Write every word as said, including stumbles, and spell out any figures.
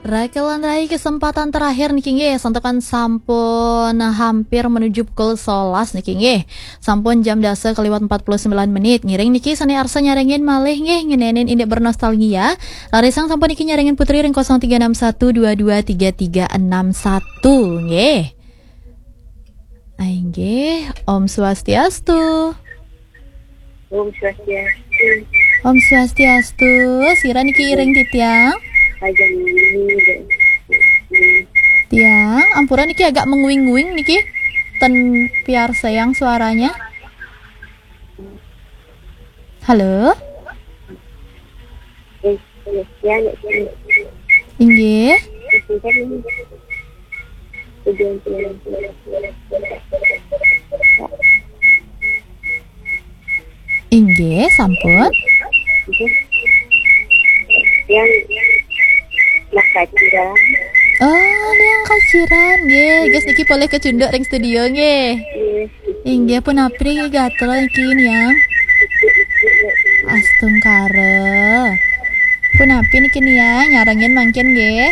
Rakelan rai kesempatan terakhir niki nggih, santukan sampun hampir menuju pukul sebelas niki nggih. Sampun jam dasa kaliwat empat puluh sembilan menit. Ngiring niki sane arsa nyarengin malih nggih, ngenenin indik bernostalgia. Larisang sampun niki nyarengin Putri ring kosong tiga enam satu dua dua tiga tiga enam satu nggih. Inggih, Om Swastiastu. Om Swastiastu. Om Swastiastu. Sira niki iring titiang? Ajeng ini. Tiang, ampura niki agak menguing-uing niki. Ten piarsayang suaranya. Halo? Eh, ya, ya, ya. Inggih. Itu kan ini. Tujuan, tujuan, tujuan. Inggih, sampun. Yang nak kaciran. Oh, Niang Kaciran nggih. Guys, niki polih kecunduk ring studio nggih. Iya. Inggih, punapi gatra niki Niang? Astungkara. Punapi niki Niang, nyarengin mangkin nggih?